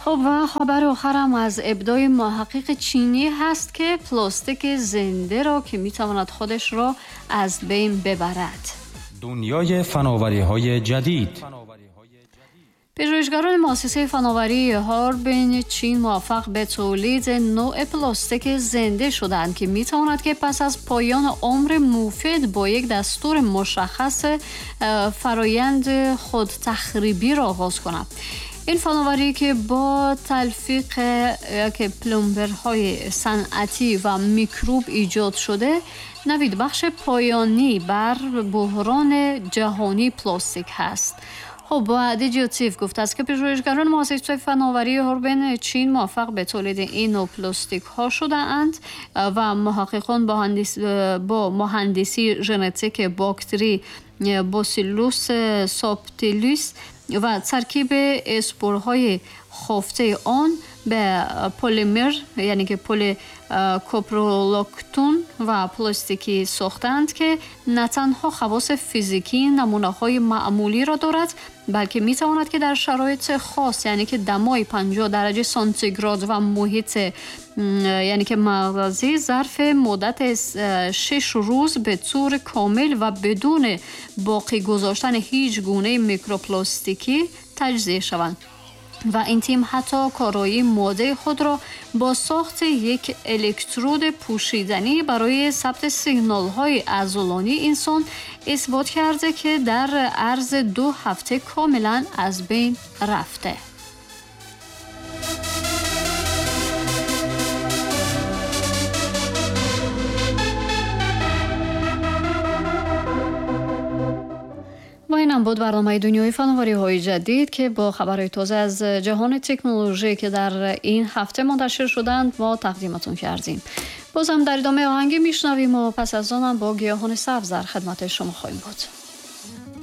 خب و خبر آخرم از ابداع محقق چینی هست که پلاستیک زنده را که میتواند خودش را از بین ببرد. دنیای فناوری‌های جدید. پژوهشگران مؤسسه فناوری هاربین چین موفق به تولید نوع پلاستیک زنده شدند که میتواند که پس از پایان عمر مفید با یک دستور مشخص فرایند خود تخریبی را آغاز کند. این فناوری که با تلفیق که پلمبرهای صنعتی و میکروب ایجاد شده، نوید بخش پایانی بر بحران جهانی پلاستیک هست. خب با دیجیتیو گفت است که پژوهشگران مؤسسه فناوری هوربن چین موفق به تولید این نوع پلاستیک ها شده اند و محققان با مهندسی ژنتیک باکتری باسیلوس سابتیلیس و ترکیب اسپورهای خفته آن به پلیمر، یعنی که پلی کوپرولاکتون و پلاستیکی ساختند که نه تنها خواص فیزیکی نمونه‌های معمولی را دارد، بلکه می‌تواند که در شرایط خاص، یعنی که دمای 50 درجه سانتیگراد و محیط یعنی که مغزی، ظرف مدت 6 روز به طور کامل و بدون باقی گذاشتن هیچ گونه میکروپلاستیکی تجزیه شوند. و این تیم حتی کارایی ماده خود را با ساخت یک الکترود پوشیدنی برای ثبت سیگنال‌های عضلانی انسان اثبات کرده که در عرض 2 هفته کاملا از بین رفته. و اینم بود برنامه دنیای فناوری‌های جدید که با خبرهای تازه از جهان تکنولوژی که در این هفته منتشر شدند ما تقدیمتون کردیم. بازم در ادامه آهنگی میشنویم و پس از آنم با گیاهان سبز در خدمت شما خواهیم بود.